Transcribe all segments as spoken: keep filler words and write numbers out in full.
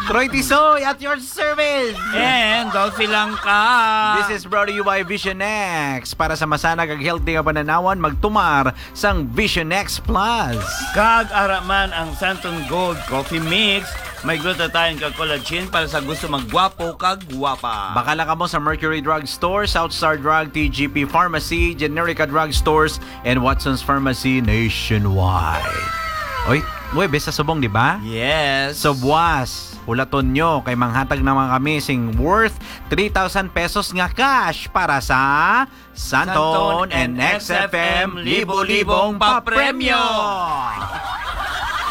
Troy Tisoy at your service! And Dolphy Langka. This is brought to you by Vision X. Para sa masanag ag healthy nga pananawan, magtumar sang Vision X Plus. Kag ara man ang Santon Gold Coffee Mix. May glutathione kag collagen para sa gusto maggwapo kag gwapa. Bakal na kamo sa Mercury Drug Store, South Star Drug, T G P Pharmacy, Generica Drug Stores, and Watson's Pharmacy nationwide. Oy, Huwebes sa subong, di ba? Yes. So, buwas, hulaton nyo kay manghatag naman kami sing worth three thousand pesos nga cash para sa Santon Santon and and X F M X F M Libo-Libong Libo-Libong Papremyo. Papremyo.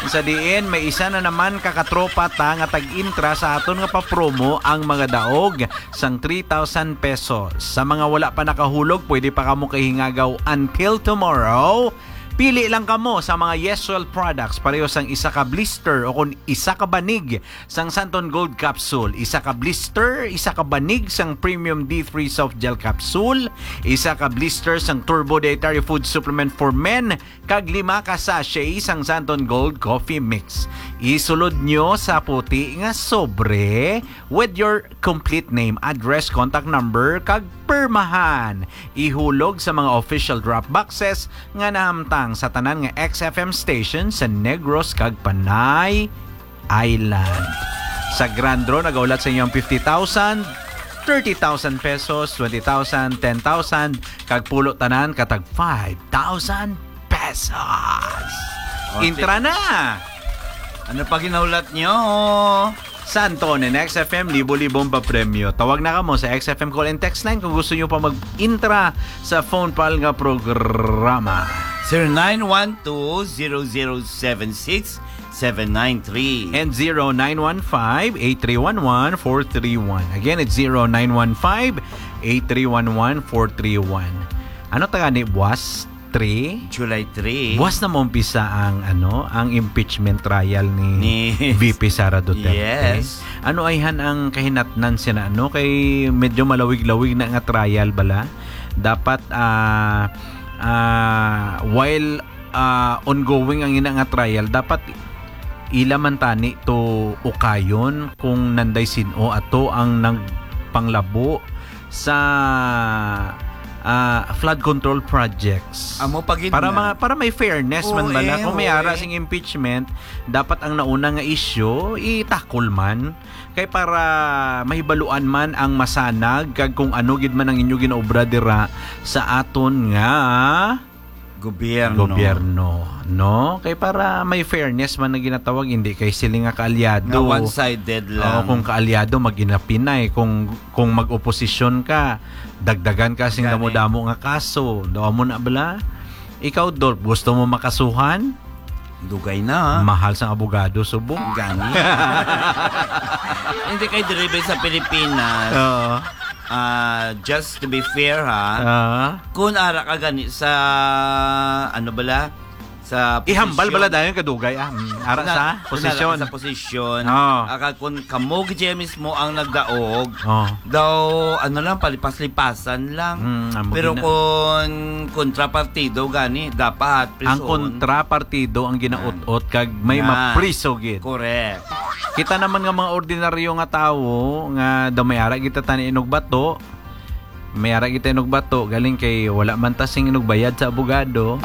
Sa diin, may isa na naman ka katropa ta nga tag-intra sa aton nga papromo ang mga daog sang three thousand pesos. Sa mga wala pa nakahulog, pwede pa kamo kahingagaw until tomorrow. Pili lang kamo sa mga Yeswell products, pareho sang isa ka blister o kon isa ka banig sang Santon Gold Capsule, isa ka blister, isa ka banig sang Premium D three Soft Gel Capsule, isa ka blister sang Turbo Dietary Food Supplement for Men, kag lima ka sachet sang Santon Gold Coffee Mix. Isulod nyo sa puti nga sobre with your complete name, address, contact number, kag permahan. Ihulog sa mga official drop boxes nga nahamtang sa tanan nga X F M station sa Negros kag Panay Island. Sa Grand Draw, nagahulat sa inyo ang fifty thousand, thirty thousand pesos, twenty thousand, ten thousand, kag pulo tanan katag five thousand pesos. O, Intra sige. na! Ano pa ginahulat nyo? Santon and X F M, libo-libong papremyo. Tawag na kamo sa X F M call and text line kung gusto nyo pa mag-intra sa phone pal nga programa. Zero nine one two, zero zero seven six, seven nine three. And zero nine one five, eight three one one, four three one. Again, it's zero nine one five, eight three one one, four three one. Ano ta gani, buwas? Three? July three. Buwas na maumpisa ang, ano, ang impeachment trial ni Ni V P Sara Duterte. Yes. Ano ayhan ang kahinatnan sina, ano? Kay medyo malawig-lawig na nga trial bala. Dapat, ah, ah, while, ah, ongoing ang ina nga trial, dapat ila man tani to ukayon kung nanday sin-o ato ang nagpanglabo sa, ah, flood control projects. Amo pa gid Para na. mga, para may fairness man Oo, bala. eh, Kung may oo, ara eh. sing impeachment, dapat ang nauna nga issue, itakol man. Kay para mahibaluan man ang masanag, kag kung ano gid man ang inyo ginaobra dira sa aton nga Gobyerno. gobyerno, no? Kay para may fairness man ang ginatawag, hindi kay sila nga kaalyado. Nga one-sided Oo, lang. kung kaalyado, mag-inapinay. Kung, kung mag-oposisyon ka, dagdagan ka sing Gani. damo-damo nga kaso. Daw mo na bala? Ikaw, Dolph, gusto mo makasuhan? Dugay na. Mahal sang abogado, subong. Gani. Hindi kay diri ba sa Pilipinas. Oo. Ah, just to be fair, ha. Ah. Kung ara ka gani sa, ano bala? Sa Ihambal posisyon. bala dayon kadugay, ah. Mm, ara Kung sa na-, kung posisyon. ara ka sa posisyon, Oo. aka kung kamo gid mismo ang nagdaog, Oo. daw, ano lang, palipas-lipasan lang. Mm, amo Pero gina- kung kontrapartido gani, dapat Ang prison. kontrapartido ang ginaut-ot kag may Yan. mapriso gid. Correct. Kita naman nga mga ordinaryo nga tawo nga daw may ara gid ta tani inugbato, may ara gid ta inugbato, galing kay wala man ta sing inugbayad sa abogado.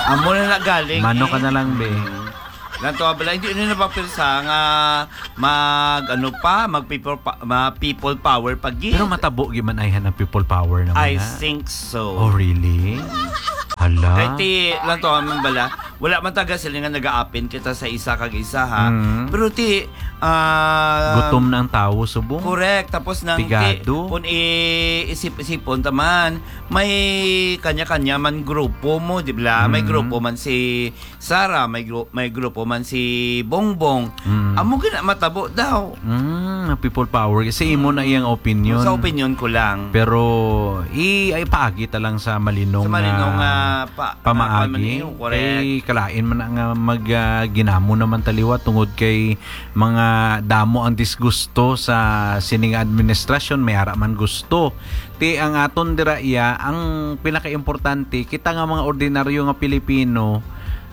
Amo na na galing, Mano eh. ka na lang, be. Mm. Lang to, abala, hindi, hindi na papirsa nga mag, ano pa, mag people pa, ma people power pa gid. Pero matabo gid man ayhan ang people power naman, I ha? think so. Oh, really? Hala. Kay ti, lang to, man bala, wala man taga sila nga nagaapin kita sa isa kag isa, ha? Mm. Pero ti, ah, Gutom na ang tawo, subong. Correct. Tapos nang ti, Pigado. kung i-, isip-isipon ta man, may kanya-kanya man grupo mo, di ba? May Mm. grupo man si Sara, may gru-, may grupo man si Bongbong. Mm. Amo gina matabo daw. Mm, ang people power. Kasi imo na iyang opinion. Sa opinion ko lang. Pero i-, ay, paagi ta lang sa malinaw Sa malinaw nga nga pa-, pamaagi. pamaagi, correct. Kay kalain man na nga mag, ah, ginamo naman taliwa tungod kay mga damo ang disgusto sa sining administrasyon, may ara man gusto. Ti ang aton dira iya, ang pinakaimportante, kita nga mga ordinaryo nga Pilipino,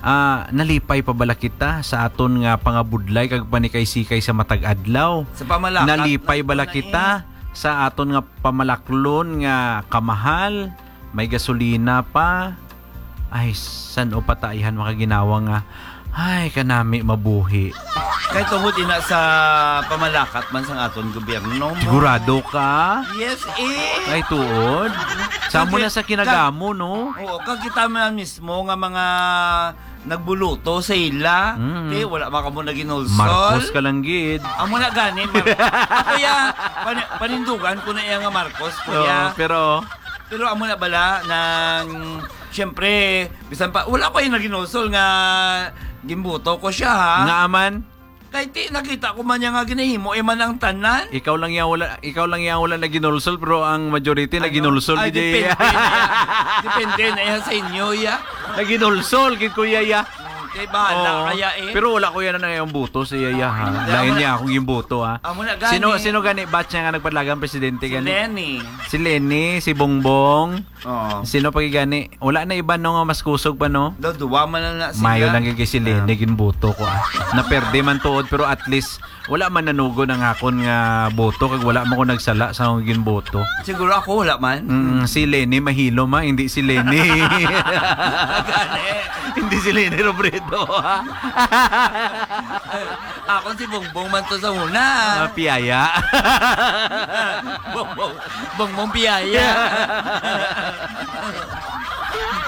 Ah, nalipay pa bala kita sa aton nga pangabudlay kag panikaysikay sa matag adlaw? Sa pamalakat, Nalipay bala na kita eh. sa aton nga pamalaklon nga kamahal? May gasolina pa? Ay, san-o pa ta ayhan makaginawa nga, ay, kanami mabuhi. Kay tungod ina sa pamalakat man sang aton gobyerno mo. Sigurado ka? Yes, eh. Ay, tuod? Sa amo Kag-, na sa kinagamo, no? Oo, kag kita man mismo nga mga nagbuluto sa ila. Mm. Te, wala man kamo naginulsol. Marcos ka lang gid. Amo na gani, Mar-, ako ya, pani-, panindugan ko na iya nga Marcos, kuya. Oo, pero Pero amo na bala nang, siyempre, bisan pa, wala ko yung naginulsol nga gimbuto ko siya, ha? Nga aman? Kay ti, nakita ko man niya nga ginahimo, eh, man ang tanan. Ikaw lang yang wala, ikaw lang yang wala naginulsol, pero ang majority Ano? naginulsol, Ay, gid, depende eh. na yan. Depende na yan sa inyo, ya. Naginulsol, gid, kuya, ya. Hmm, kay bahala Oo. kaya eh. Pero wala ko yan na yung buto sa iya, ya, ha? Hindi, Lain amo niya na, akong gimbuto, ha? amo na gani. Sino, sino gani batch niya nga nagpadalagan presidente Si gani? Lenny. Si Lenny, si Bongbong. Oo. Sino pa gani? Wala na iba, no, nga mas kusog pa, no? Do, duwa man na na sila. Mayo lang gid kay si Lenny, Ah. ginbuto ko, ah. Naperde man tuod, pero at least, wala man nanugod ang akon nga boto, kag wala man ko nagsala sa akong ginboto. Siguro ako, wala man. Mm, si Lenny mahilo ma, hindi si Lenny. Gani. Hindi si Lenny Robredo, ha? Ako si Bongbong man to sa una. Ah, piyaya. Bongbong, Bongbong piyaya.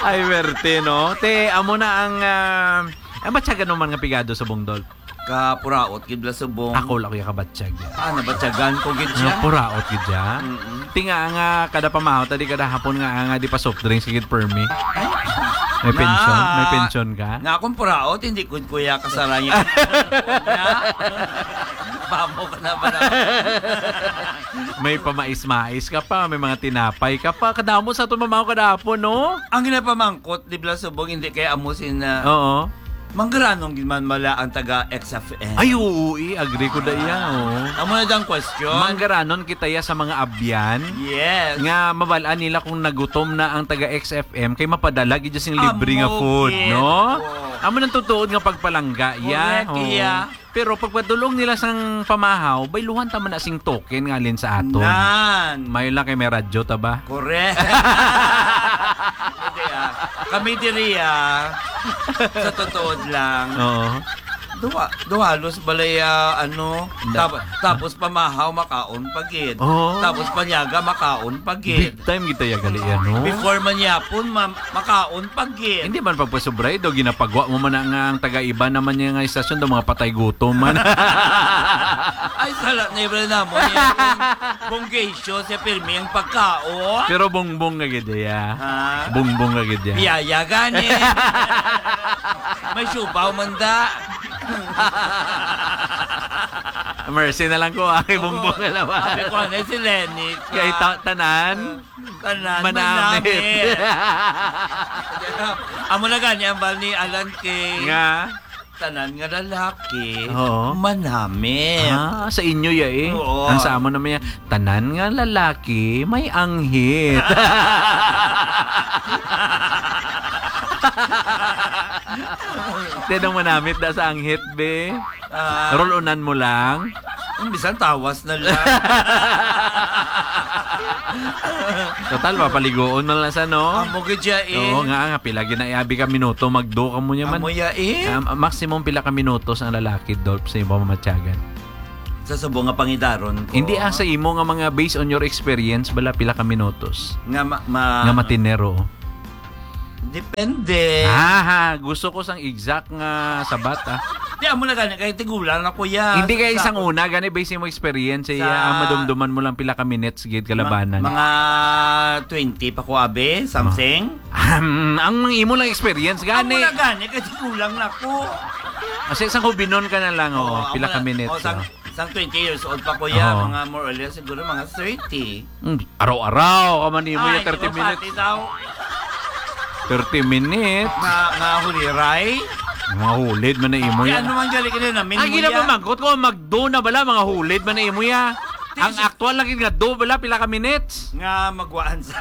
Ay, werte, no? Te, amo na ang, ah, ang batyagan naman nga pigado sa Bongdol. Kapuraot gid la subong. Ako lang kuya kabatyag. Ah, nabatyagan ko gid siya. Nga puraot gid siya. Mm-mm. Tinga nga kada pamahaw, tadi kada hapon nga, nga di pa soft drinks gid permi. May Na. pensyon? May pensyon ka? Nga akong puraot, hindi ko kuya kasarang yung Bamo ka na ba na? May pamais-mais ka pa, may mga tinapay ka pa. Kadamo sa ato mamahaw kada hapon, no? Ang ginapamangkot, di ba, subong, hindi kaya amo sin, ah, Oo. Manggaranon gid man bala ang taga X F M. Ay, oo, eh, agree ko da iya, oh. Amo na dang question. Manggaranon kita ya sa mga abyan Yes. nga mabal-an nila kung nagutom na ang taga X F M kay mapadala gid sing libre nga Amo food, gid. no? Oo. Amo nang tutuod nga pagpalangga, ya. Correct, Oo. iya. Pero pagpadulong nila sang pamahaw, bayluhan ta man na sing token nga alin sa aton. Nan. Mayo lang kay may radyo ta ba? Correct. Hindi, ah. Kami diri, ah. Sa totoo lang. Oo. Duha, duhalos balay, ah, ano, Da- tap-, tapos pamahaw, makaon pa gid. Oo. Tapos panyaga, makaon pa gid. Big time kita ya gali yan, no? Before man yapon, ma-, makaon pa gid. Hindi man pagpasubray do, ginapagwa mo man na nga ang taga-iba naman niya nga istasyon do, mga patay gutom man. Ay, sala na iba na mo niya. Bonggesyo, siya pirmi ang pagkaon. Pero bongbong ka gid ya. Ha? Bongbong ka gid ya. Biyaya gani. May siupaw man da. Mercy na lang ko, ah, kay Oo. Bongbong na lang. Sabi ko, ano, si Lenny ka? Kay ta-, tanan? Tanan, Manamit. manamit. Amo na gani ang bal ni Alan Kay. Nga? Tanan nga lalaki, Oo. manamit. Ah, sa inyo ya eh. Oo. Ang sa amo naman ya, tanan nga lalaki, may anghit. Tinong manamit da sa anghit, be. Ah. Rol-onan mo lang. Ang bisan tawas na lang. Total, papaligoon na lang sa, no? Amo gid siya, eh. Oo, nga, nga, pila gid na, abi ka minuto, magdo ka mo niya man. Amo ya, eh. Um, maximum pila ka minutos ang lalaki, Dolph, sa imo mamatyagan? Sa subo nga pangidaron ko. Hindi, ah, sa imo nga mga, based on your experience, bala, pila ka minutos? Nga ma-, ma-, Nga matinero. Depende. Ah, ha. Gusto ko sang exact nga sabat, ah. Di, amo na gani, kay tigulang na, kuya. Hindi kay Sa isang una, gani, based mo experience, eh, Sa ah, madumduman mo lang pila ka minutes, gid, kalabanan. Ma-, mga twenty pa ko, abi, something. Ahem, ang mga imo lang experience, Amo gani. na gani, kay tigulang na ko. Kasi isang hubinon ka na lang, oh, Oo, pila amo ka na. minutes, Oh, sang, oh. sang twenty years old pa ko, ya, Oo. mga more or less, siguro mga thirty. Hmm, araw-araw ka man imo Ay, ya, thirty di ba minutes. pati daw? Thirty minutes. Nga, nga huliray? Mga hulid man na imo Ay, ya. ano man gali ka na namin Ang mo ya? ginapamangkot ko, magdo na bala, mga hulid man na imo ya. Ang aktual lagi nga do, bala, pila ka minutes? Nga magwaan sa.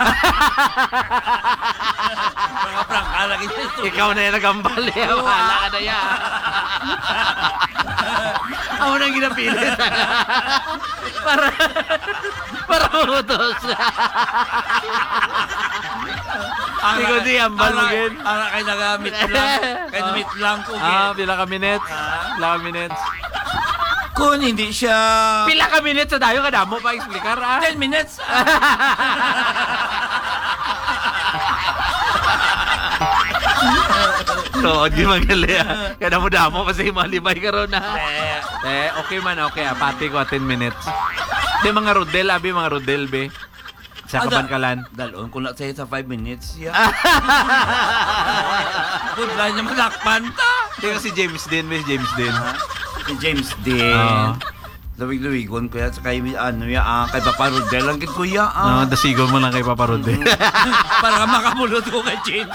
Mga prangka lagi sa istorya. Ikaw na yung nagambal, eh. Oo, Wala ah. ka na yan. Ako nang ginapilit. Para, para mamutos. Ang Ikaw di, ambal mo, Ara, gid. Ara kay nagamit lang. Kay namit lang ko, Ah, gid. pila ka minutes? Ah. Pila ka minutes? Kung hindi siya Pila ka minutes sa dayo, kadamo pa explicar, ah. Ten minutes. Tuod, di magali, ah. Kadamo-damo pa sa mga libay karon, ah. Eh. Eh, okay man, okay, ah. Pati ko, ah, ten minutes. Di, mga Rodel, abi, mga Rodel, be. Sa Ada, Kabankalan. Dalon ko na sa'yo sa five minutes, ya. Good line naman, lakpan ta. Di, si James din, be, si James din. Ah, si James din. Oo. Luwig-luwigon ko yan sa kay, ano, ya, ah, kay Papa Rodel. Ang gid ko, ya, ah. No, dasigon mo lang kay Papa Rodel. Mm. Para makabulot ko kay James.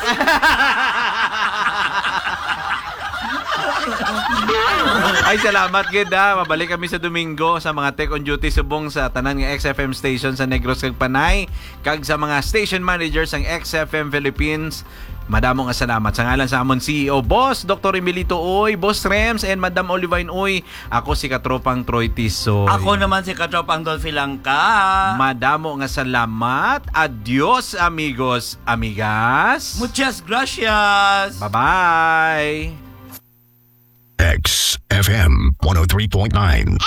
Ay, salamat gid, ah. Mabalik kami sa Domingo sa mga Tech on Duty subong sa tanan nga X F M station sa Negros kag Panay, kag sa mga station managers sang X F M Philippines. Madamo nga salamat sa ngalan sa amon C E O, Boss Doktor Emilito Uy, Boss Rems, and Madam Olivine Uy. Ako si Katropang Troy Tisoy. Ako naman si Katropang Dolphy Langka. Madamo nga salamat. Adios, amigos, amigas. Muchas gracias. Bye-bye. X F M one oh three point nine.